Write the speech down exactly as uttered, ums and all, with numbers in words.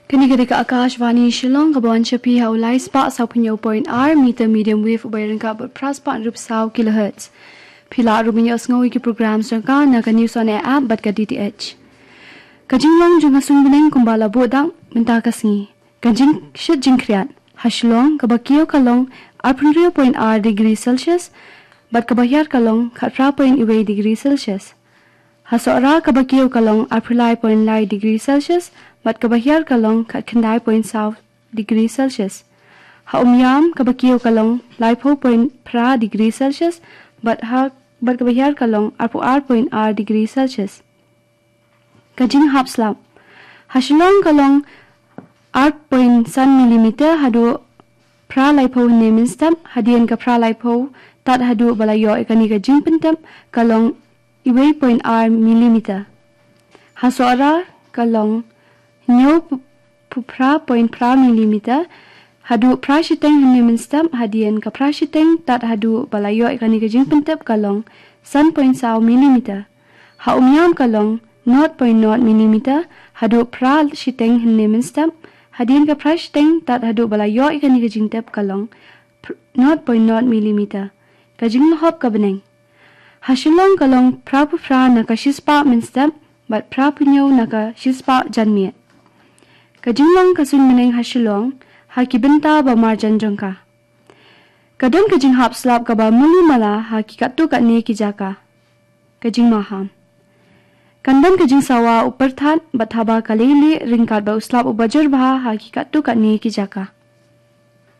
Kane ka dei ka Akashvani Shillong, kaba wan sha phi ha u lai spah saw phew point ar meter medium wave uba ryngkat bad phra spah rup saw kilohertz. Phi lah ruh ban ïohsngew ïa ki program jong ka na ka News on Air app bad ka D T H. Ka jinglong jong ka suiñ bneng kumba la buh dak mynta ka sngi. Ka jingshit jingkhriat ha Shillong, kaba kiew ka long arphew point ar degree Celsius bad kaba hiar ka long khatphra point wei degree Celsius. Ha Sohra, kaba kiew ka long arphew lai point lai degree Celsius bad kaba hiar ka long khatkhyndai point saw degree Celsius. Ha Umiam, kaba kiew ka long laiphew point phra degree Celsius bad ha bad kaba hiar ka long arphew ar point ar degree Celsius. Ka jinghap slap ha Shillong ka long ar point san millimeter haduh phra laiphew hynne mynstep. Hadien ka phra laiphew tad haduh ba la ïoh ïa kane ka jingpyntep ka long wei point ar millimeter. Ha Sohra ka long hynñiew phew phra point phra millimeter haduh phra shiteng hynne mynstep. Hadien ka phra shiteng tad haduh ba la ïoh ïa kane ka jingpyntep ka long san point saw millimeter. Ha Umiam ka long not point not millimeter haduh phra shiteng hynne mynstep. Hadien ka phra shiteng tad haduh ba la ïoh ïa kane ka jingtep ka long not point not millimeter. Ka jinglhop ka bneng ha Shillong ka long phra phew phra na ka shispah mynstep bad phra phew hynñiew na ka shispah janmiet. Ka jinglong ka suiñ bneng ha Shillong ha ki bynta ba marjan jong ka. Ka don ka jinghap slap kaba muli mala ha ki katto katne ki jaka. Ka jingmaham. Kan don ka jingsawa u pyrthat bad haba ka leilieh ryngkat bad u slap uba jur bha ha ki katto katne ki jaka.